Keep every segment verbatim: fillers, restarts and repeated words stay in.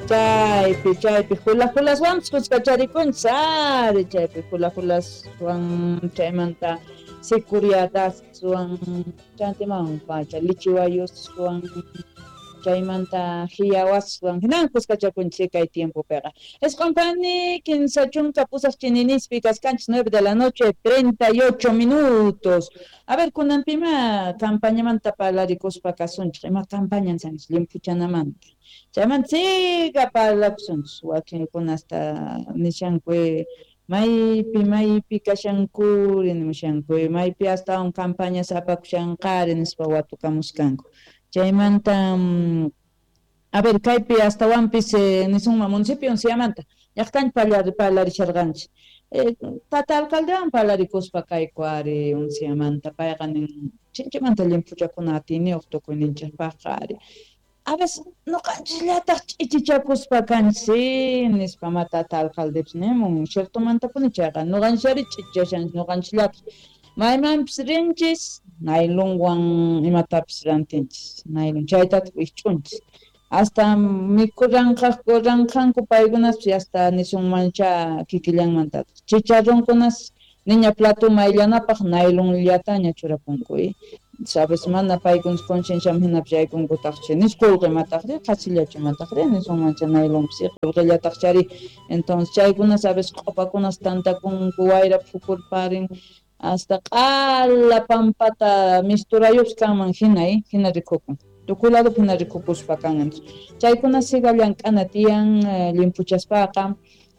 Chaypi chaypi hula hulaswanpis kuskacharikunchis ari chaypi hula hulaswan chaymanta sicuriataswan chantiman pacha lichiwayuswan chaymanta hiyawaswan hinan kuskachakunchis kay tiempopiqa. Isqunpani kinsa chunka pusaq chininispi kaskanchis nueve de la noche treinta y ocho minutos. A ver, kunanpima campañamanta parlarikuspa kasunchik, ima campaña sanchis limpuchanamanta. Chaymanta siga parlakusunchis wakinkuna hasta nishanku maypi maypi kashankuri nimushanku maypi astawan campañas apakushanqari nispa watukamuskanku. Chaymanta a ver kaypi astawanpis nisunman municipio Unciamanta llaqtanchik parlarisharqanchik. Tata alcaldewan parlarikuspa kayku ari Unciamanta payqa nin chinchimanta limpuchakuna atiyniyuq tukuyninchikpaqqa ari. A veces ñuqanchisllataq ch'ichichakuspa kanchis nispa ma tata alcaldepis nimun ciertomantapuni chayqa ñuqanchis ch'ichichashanchis ñuqanchisllataq maymanpis rinchis naylonwan imatapis rantinchis naylon chaytataq wikch'unchis hasta mikuranqaqku ranqanku paykunaspis hasta nisunmancha kikillanmantataq chicharronkunas niña plato mayllanapaq naylonllataña churapunku sabes mana paykunas concienciaman hinapis yaykunkutaqchi nis qullqimataqri qhasillachu mataqri nisunmancha naylonpis qullqillataqchari entonces chaykunas a veces q'upakunas tantakunku wayra phukurparin hasta q'ala pampata misturayuqpis kanman hina hina rikukun tukuy ladopi hina rikukuspa kan chaykuna siga llank'ana tiyan limpuchaspaqa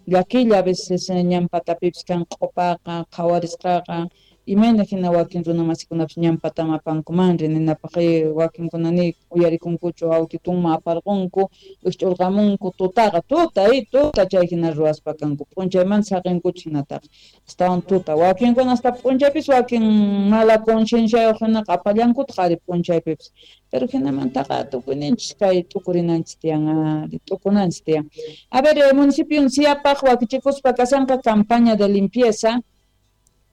llakilla a veces ñan patapipis kan q'upaqa qhawarisqaqa imayna hina wakin runamasikunapis ñan pataman apankumanri ninapaq wakinkuna ni uyarikunkuchu autitunman aparqunku wikch'urqamunku tutaqa tuta tuta chay hina ruwaspa kanku p'unchaymanta saqinkuchu hinataqa astawan tuta wakinkuna hasta p'unchaypis wakin mala concienciayuq hinaqa apallankutaq ari p'unchaypipis pero hinamantaqa tukuyninchis kay t'ukurinanchis tiyan ari t'ukunanchis tiyan. A ver, municipio Unciapaq wakichikuspa kashanqa campaña de limpieza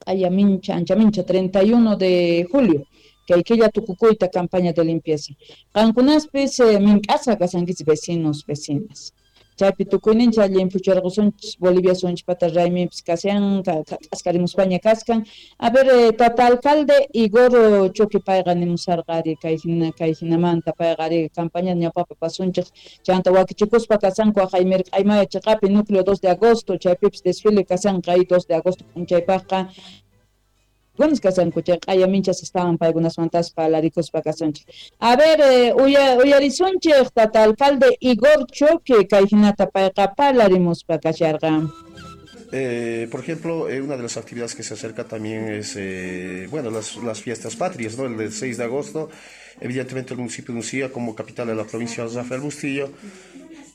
Ayamincha, Anchamincha, treinta y uno de julio, kay killa tukukuyta campaña de limpieza. Qankunaspis eh, mink'asqa kashankichis vecinos, vecinas. Chaypi tukuyninchik llimpucharqusunchis Bolivia sunchpata rayminpis kashan, k'askarimuspaña kaskan. A ver, eh, tata alcalde Igor Choque payqa nimusarqa ari kay hina kay hinamanta payqa ari campaña ñawpapi pasunchik chanta wakichikuspa kasanku aqay mirk'aymaya chiqapi núcleo dos de agosto chaypipis desfile kasanqa ahí dos de agosto p'unchaypaqqa Buenos kasanku chay q'ayaminchas estaban paykunasmantas parlarikuspa kasunchik. A ver, eh, uya, uyarisunchik tata alcalde Igor Choque kay hinata payqa parlarimuspa kasharqa. Eh, por ejemplo, eh, una de las actividades que se acerca también es, eh, bueno, las, las fiestas patrias, ¿no? El del seis de agosto, evidentemente el municipio de Uncía, como capital de la provincia de Rafael Bustillo,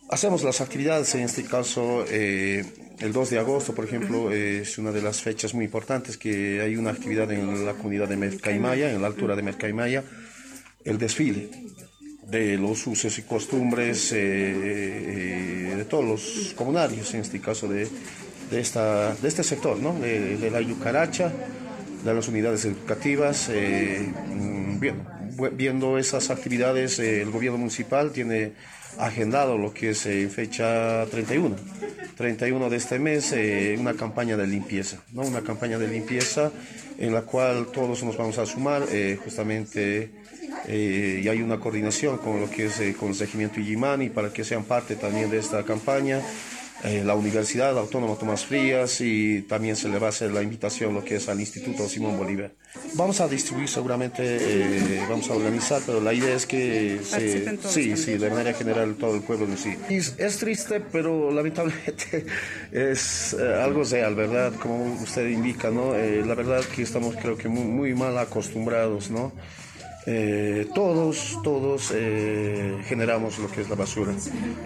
hacemos las actividades, en este caso, eh, el dos de agosto, por ejemplo, eh, es una de las fechas muy importantes que hay una actividad en la comunidad de Mercaimaya, en la altura de Mercaimaya, el desfile de los usos y costumbres eh, eh, de todos los comunarios, en este caso de, de, esta, de este sector, ¿no? De, de la Yucaracha, de las unidades educativas. Eh, bien, viendo esas actividades, eh, el gobierno municipal tiene agendado lo que es en fecha treinta y uno, treinta y uno de este mes, eh, una campaña de limpieza, ¿no? Una campaña de limpieza en la cual todos nos vamos a sumar, eh, justamente, eh, y hay una coordinación con lo que es el Corregimiento Illimani para que sean parte también de esta campaña. Eh, la Universidad Autónoma Tomás Frías, y también se le va a hacer la invitación lo que es al Instituto Simón Bolívar. Vamos a distribuir seguramente, eh, vamos a organizar, pero la idea es que se, sí, sí, de manera general todo el pueblo en sí. Es, es triste, pero lamentablemente es eh, algo real, ¿verdad? Como usted indica, ¿no? Eh, la verdad que estamos creo que muy, muy mal acostumbrados, ¿no? Eh, todos, todos eh, generamos lo que es la basura.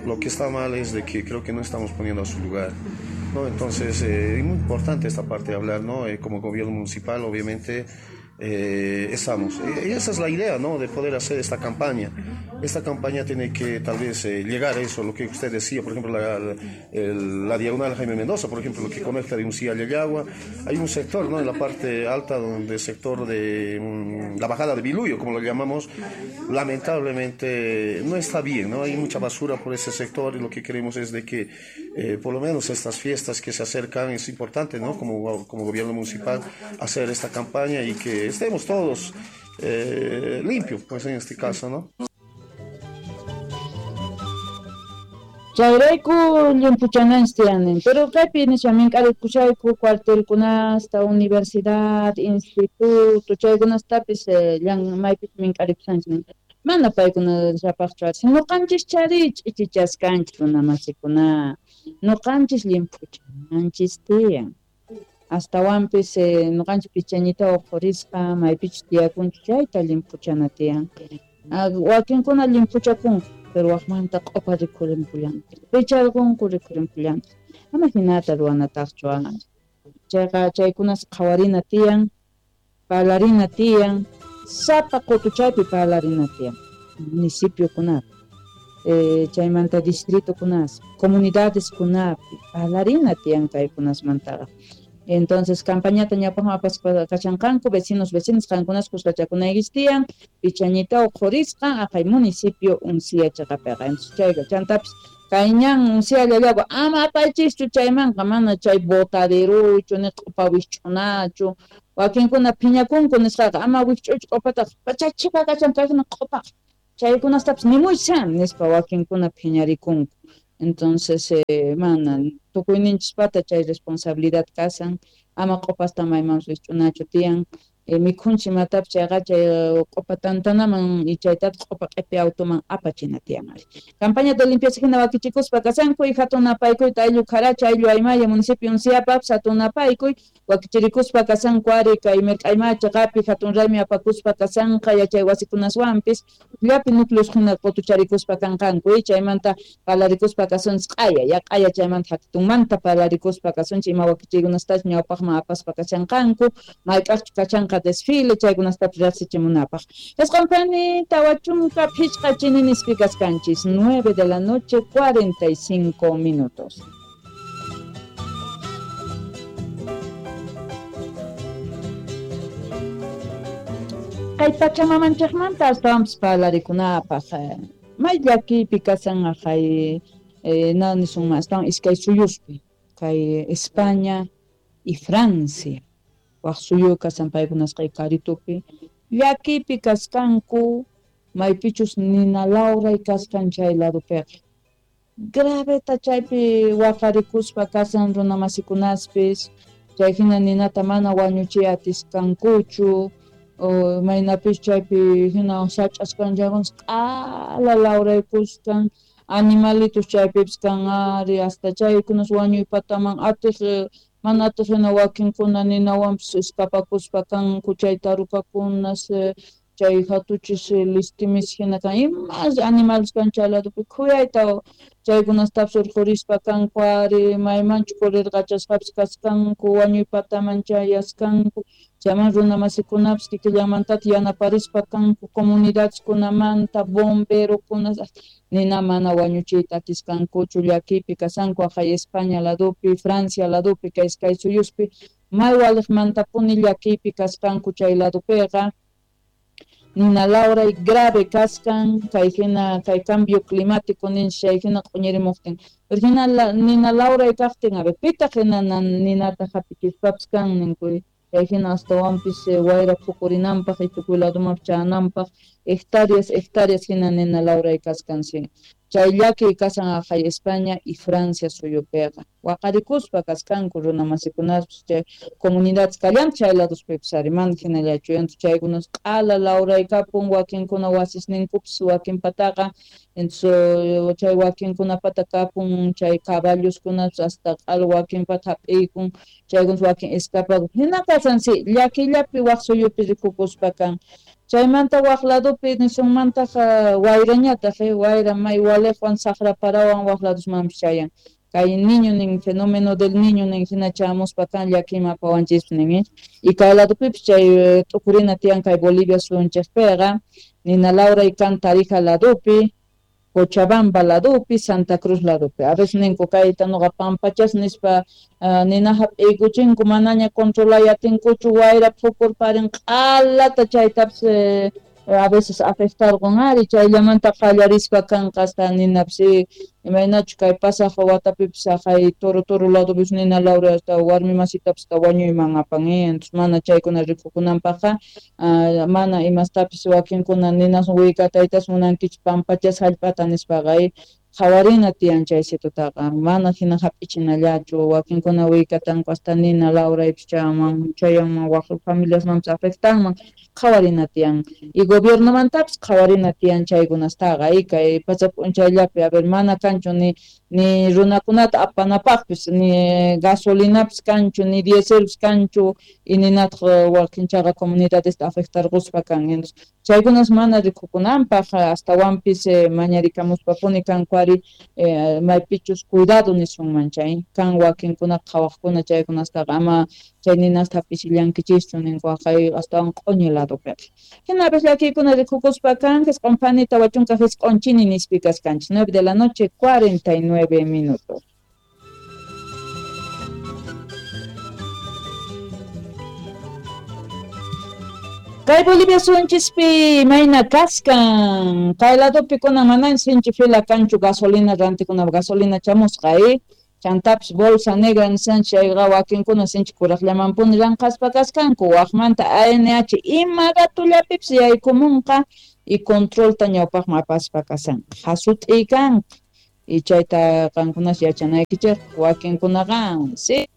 Lo que está mal es de que creo que no estamos poniendo a su lugar, ¿no? Entonces, eh, es muy importante esta parte de hablar, ¿no? Eh, como gobierno municipal, obviamente, eh, estamos. Y esa es la idea, ¿no?, de poder hacer esta campaña. Esta campaña tiene que tal vez eh, llegar a eso, lo que usted decía, por ejemplo, la, la, el, la diagonal Jaime Mendoza, por ejemplo, lo que conecta de Uncía a Llallagua. Hay un sector, ¿no?, en la parte alta, donde el sector de mm, la bajada de Biluyo, como lo llamamos, lamentablemente no está bien, ¿no? Hay mucha basura por ese sector y lo que queremos es de que eh, por lo menos estas fiestas que se acercan, es importante, ¿no?, como, como gobierno municipal, hacer esta campaña y que estemos todos eh, limpios, pues en este caso, ¿no? Chayrayku limpuchananchis tiyanin, pero kaypi nisha mink'arikushayku cuartelkunasta, universidad, instituto, chaykunastapis llan maypis mink'arikushanchis. Mana paykuna llapaqchu ari, ñuqanchis chari ch'ichichaskanchis runamasikuna, ñuqanchis limpuchananchis tiyan. Astawanpis ñuqanchis pichañita uqhurispa maypichus tiyakunchis chayta limpuchana tiyan. Wakinkuna limpuchakunku, pero waqmanta q'upa rikhurinpullanku, picharqunku rikhurinpullanku. Ama hinata ruwanataqchu ari. Chayqa chaykunas qhawarina tiyan, parlarina tiyan, sapa qutuchaypi parlarina tiyan, municipiokunapi, eh, chaymanta distritokunas, comunidadeskunapi, parlarina tiyan kaykunasmantaqa. Entonces, campañata ñawpaqman apaspa kachanqanku, vecinos, vecinas, qankunas kuskachakunaykichis tiyan, pichañita uqhurisqa aqhay municipio Uncía chaqapiqa. Entonces, chayqa chantapis kay ñan Uncía Llallagua ama apaychischu chaymanqa, mana chay botaderuchu ni q'upa wikch'unachu. Wakinkuna phiñakunku nisqaqa ama wikch'uychu q'upataqa, pachachipa kachan kaykuna q'upaqa. Chaykunastapis nimuysan nispa wakinkuna phiñarikunku. Entonces, eh, mana tukuyninchispata chay responsabilidad kasan, ama q'upasta maymanpis wikch'unachu tiyan. Eh, mikhunchis imatapis chayqa chay q'upa tantanaman y chaytataq q'upa q'ipi automan apachina tiyan ari. Campaña de limpieza hina wakichikuspa kasanku y hatun napaykuyta ayllu Kharacha, ayllu Aymaya, municipio Unciapapis hatun napaykuy wakichirikuspa kasanku ari kay mirk'ayma chaqapi hatun raymi apakuspa kasanqa yachay wasikunaswanpis llapi núcleos hina qutucharikuspa kanqanku y chaymanta parlarikuspa kasunchis q'aya ya q'aya chaymanta hatunmanta parlarikuspa kasunchis ima wakichiykunastachus ñawpaqman apaspa kashanqanku mayk'aqchu kachanqa desfile chaykunastapis riqsichimunapaq. Isqunpani tawa chunka phichqa chininispi kaskanchis, nueve de la noche cuarenta y cinco minutos. Kay pachamamanchikmanta astawanpis parlarikunapaq, may llakiypi kasan aqhay na nisunman astawan iskay suyuspi, kay España y Francia. Waq suyu kasan paykunasqa karitupi llakiypi kasqanku maypichus nina lawray kasqan chay ladupiqa. Graveta chaypi waqarikuspa kasan runamasikunaspis, chay hina ninata mana wañuchiy atisqankuchu, o maynapis chaypi hina sach'asqan chaykunas q'ala lawraykusqan, animalitos chaypipis kan ari, hasta chaykunas wañuypataman atiq mana atiq hina wakinkuna ninawanpis escapakuspa kanku chay tarukakunas, chay hatuchis listimis hina kan imas animales kan chay ladupi khuyayta chaykunastapis urqhurispa kanku ari, maymanchu kurirqachasqapis kasqanku wañuypataman chayasqanku, chayman runamasikunapis kikillanmantataq yanaparispa kanku comunidadeskunamanta bomberokunas nina mana wañuchiyta atisqankuchu llakiypi kasanku aqhay España ladupi, Francia ladupi, kay iskay suyuspi may waliqmantapuni llakiypi kasqanku chay ladupiqa. Nina lawray grave kasqan kay hina kay cambio climático ninchis chay hina q'uñirimuqtin. Pero hina la, nina lawray kaqtin a ver pitaq hina ninata hap'ichispapis kan ninku chay hina astawanpis wayra phukurinanpaq y tukuy ladumanpis chayananpaq hectáreas hectáreas hina nina lawray kasqan sí. Chay llakiy kasan aqhay España y Francia suyupiqa. Waqarikuspa kasqanku runamasikunaspis chay comunidades kallanpis chay laduspipis ari mana hinallachu entonces chaykunas q'ala lawraykapun wakinkuna wasisninkupis wakinpataqa entonces chay wakinkunapata kapun chay caballoskunapis hasta q'ala wakinpata hap'iykun chaykunas wakin escapakun hina kasan sí llakiyllapi waq suyupi rikukuspa kan. Chaymanta waq ladupi nisunmantaq wayrañataq wayra may waliqwan saqra parawan waq ladusmanpis chayan. Kay niño nin fenómeno del niño nin hina chamuspa kan llakima apawanchis nin y kay ladupipis chay t'ukurina tiyan kay Bolivia suyunchikpiqa nina lawray kan Tarija ladupi Cochabamba ladupi Santa Cruz ladupi a veces ninku kayta nuqa pampachas nispa uh, nina hap'iykuchinku manaña controlay atinkuchu wayra phukurparin q'alata chaytapis eh, a veces afectarqun ari chayllamanta qallarispa kanqa hasta ninapis imaynachu kay pasaq watapipis haqay toro toro ladupis nina lawray hasta warmi masitapis wañuyman apan entonces mana chaykuna rikukunanpaqqa uh, mana imastapis wakinkuna ninas willkataytas munankichik pampachas hallp'ata nispaqa qhawarina tiyan chaysitutaqa mana hina hap'ichinallachu wakinkuna willkatanku hasta nina lawraypis chayanman chayanman waq familiasmanpis afectanman qhawarina tiyan y gobiernomantapis qhawarina tiyan chaykunastaqa y kay pacha p'unchayllapi a ver mana kanchu ni ni runakunata apanapaqpis ni gasolinapis kanchu ni dieselpis kanchu y ninataq wakinchaqa comunidadesta afectarquspa kan entonces chaykunas mana rikukunanpaq astawanpis eh, mañarikamuspapuni kanku ari eh, maypichus cuidado nisunman chay kan wakinkuna qhawaqkuna chaykunastaqa ama chay ninasta hap'ichillankichikchu ninku haqay astawan q'uñi ladupiqa hinapis llakiykuna rikukuspa kan jisq'un phani tawa chunka jisq'un chini nispi kaskanchik nueve de la noche cuarenta y nueve minutos. Kay Bolivia suyunchispi mayna kaskan kay ladupi kunan manan sinchi fila kanchu gasolina rantikuna gasolina chamusqa eh chantapis bolsa negra nisanchik chayqa wakinkuna sinchi kuraqllamanpuni llanqaspa kaskanku waqmanta A N H ima ratullapipis yaykumunqa y controlta ñawpaqman apaspa kasanqa hasut'iy kanqa y chayta qankunas yachanaykichik wakinkunaqa si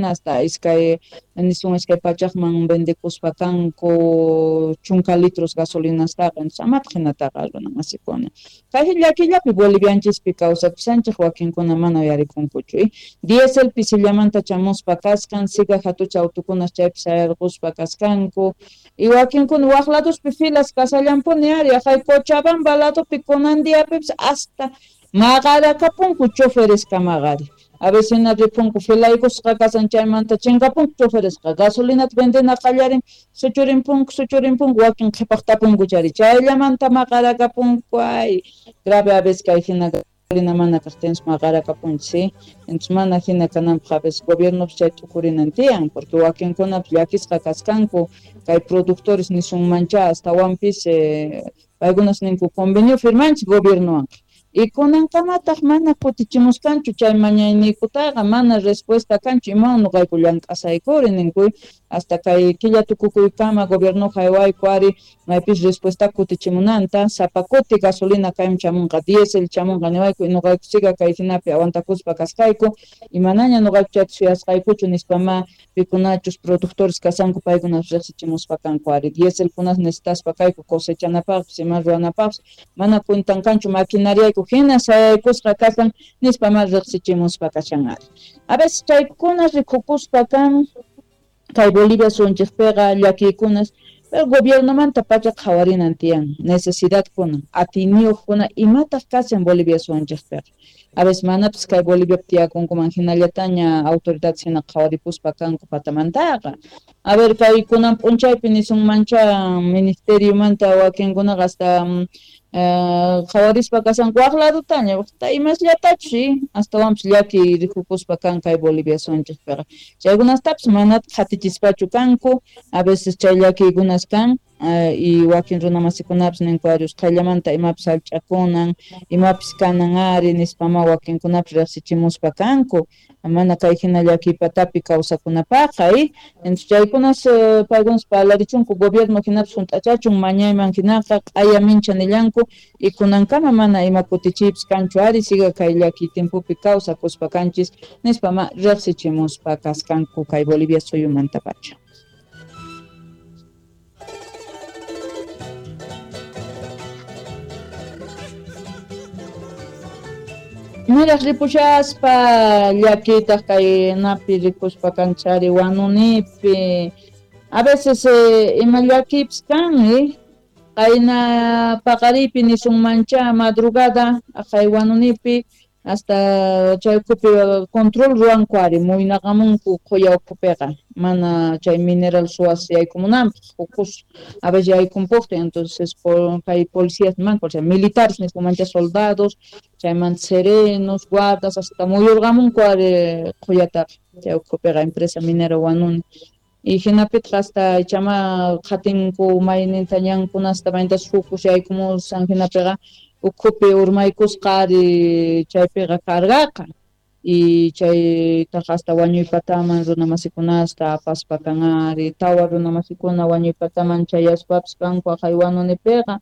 hasta iskay nisun iskay pachaqman vendekuspa kanku chunka litros gasolinastaqa entonces amataq hinataqa runa masikuna kay llakillapi bolivianchispi kawsakushanchik wakinkuna mana uyarikunkuchu eh? Diesel pisillamanta chamuspa kaskan siga hatucha autukunas chaypi sayarquspa kaskanku y wakinkuna waq laduspi filas kasallampuni ari haqay Cochabamba ladupi kunan diapipis hasta maqarakapunku chofereskamaqari a veces hina ripunku filaykusqa kasan chaymanta chinkapunku choferesqa gasolinata vendena qallarin suchurinpunku suchurinpunku wakin qhipaqtapunku chari chayllamanta maqarakapunku ay grave a veces kay hina gasolina mana kaqtinsi maqarakapunchik sí entonces mana hina kananpaq a veces gobiernopis chay t'ukurinan tiyan porque wakinkunapis llakisqa kaskanku kay productores nisunmancha astawanpis eh, paykunas ninku convenio firmanchik gobiernowanqa y kunankamataq mana kutichimuskanchu chay mañayniykutaqa mana respuesta kanchu imawan nuqayku llank'asaykuri ninku hasta kay killa tukukuykama gobierno haywayku ari maypis respuesta kutichimunanta sapa kuti gasolina kaymi chamunqa diesel chamunqa niwayku nuqayku siga kay hinapi aguantakuspa kasqayku y manaña nuqayku chayta suyasqaykuchu nispama pikunachus productores kasanku paykunas riqsichimuspa kanku ari dieselkunas necesitaspa kayku cosechanapaqpis ima ruwanapaqpis mana cuentan kanchu maquinariayku hina sayaykusqa kasan nispa ma riqsichimuspa kashan ari a veces chaykuna rikukuspa kan kay Bolivia suyunchikpiqa llakiykunas pero gobiernomanta pacha qhawarinan tiyan necesidadkuna atiyniyuqkuna imataq kashan Bolivia suyunchikpiqa a veces manapis kay Boliviapi tiyakunkuman hinallataña autoridades hina qhawaripuspa kanku patamantaqa a ver kay kunan p'unchaypi nisunmancha ministeriomanta wakinkunaqa hasta qhawarispa kasanku waq ladutaña waqta imasllatachu sí astawanpis llaki rikukuspa kan kay Bolivia suyunchikpiqa chaykunastapis manataq qatichispachu kanku a veces chay llakiykunas kan uh, y wakin runamasikunapis ninku ari usqhayllamanta imapis hallch'akunan imapis kanan ari nispama wakinkunapis riqsichimuspa kanku mana kay hina llakiypatapi kawsakunapaqqa eh? Entonces chaykunas eh, paykunas parlarichunku gobierno hinapis hunt'achachun mañayman hinaqa q'aya mincha nillanku y kunankama mana ima kutichiypis kanchu ari siga kay llakiy timpupi kawsakuspa kanchis nispama riqsichimuspa kaskanku kay Bolivia suyumantapacha. Niraq ripushaspa llakiytaq kay napi rikuspa kanchari wanunipi a veces eh, ima llakiypis kan eh? Qayna paqaripi nisunmancha madrugada aqay wanunipi Hasta chay ukhupi control ruwanku ari muynaqamunku qhuya ukhupiqa mana chay mineral suwas yaykumunanpaq hukus a veces yaykunpuqtin entonces por kay policías nimanku o sea militares nispa soldados chaymanta serenos guardas hasta muyurqamunku ari qhuyataqa chay ukhupiqa empresa minera Huanuni y hinapitaq hasta ichama qhatinku mayninta ñankunasta maynintas hukus yaykumushan hinapiqa ukhupi urmaykusqa ari chaypiqa cargaqa y chaytaqa hasta wañuypataman runamasikunasta apaspa kan ari tawa runamasikuna wañuypataman chayaspapis kanku aqhay Huanunipiqa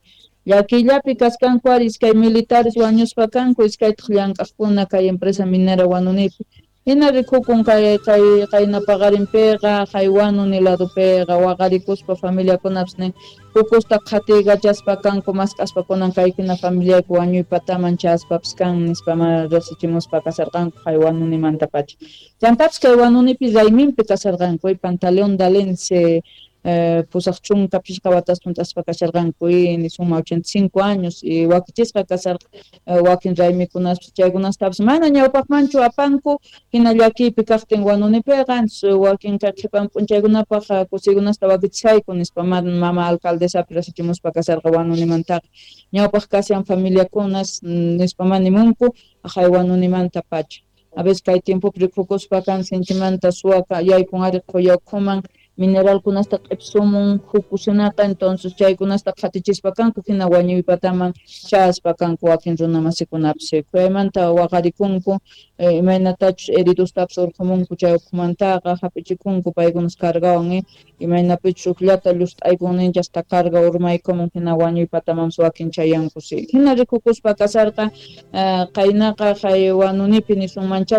llakiyllapi kaskanku ari iskay militares wañuspa kanku iskaytaq llank'aqkuna kay empresa minera Huanunipi hina rikukun kay kay qayna paqarinpiqa hay Huanuni ladopiqa waqarikuspa familiakunapis nin hukusta qhatiykachaspa kanku mask'aspa kunan kay hina familiayku wañuypataman chayaspapis kan nispa mana riqsichimuspa kasarqanku hay Huanunimantapacha chantapis kay Huanunipi rayminpi kasarqanku Pantaleón Dalense eh, pusaq chunka pishqa watas hunt'aspa kasharqanku y nisuma ochenta y cinco años y wakichisqa kasarqa eh, wakin raymikunaspas chaykunastapis mana ñawpaqmanchu apanku hina llakiypi kaqtin Huanunipiqa wakin kay qhipan p'unchaykunapaq kusiykunasta wakichishayku nispa mama alcaldesapi riqsichimuspa kasarqa Huanunimantaqa ñawpaq kashan familiakunas nispa manimunku aqhay Huanunimantapacha a veces kay tiempopi rikukuspa kan sinchimanta suwa yaykun ari qhuya ukhuman mineralkunasta q'ipsumun hukusinaqa entonces chaykunasta qhatichispa kanku hina wañuypataman chayaspa kanku wakin runamasikunapis khuyaymanta waqarikunku eh, imaynatachus heridostapis urqhumunku chay ukhumantaqa hap'ichikunku paykunas cargawan eh, imaynapichus ukllata llust'aykun ninchik hasta carga urmaykumun hina wañuypatamanpis wakin chayanku si hina rikukuspa kasarqa eh, qaynaqa hay Huanunipi nisunmancha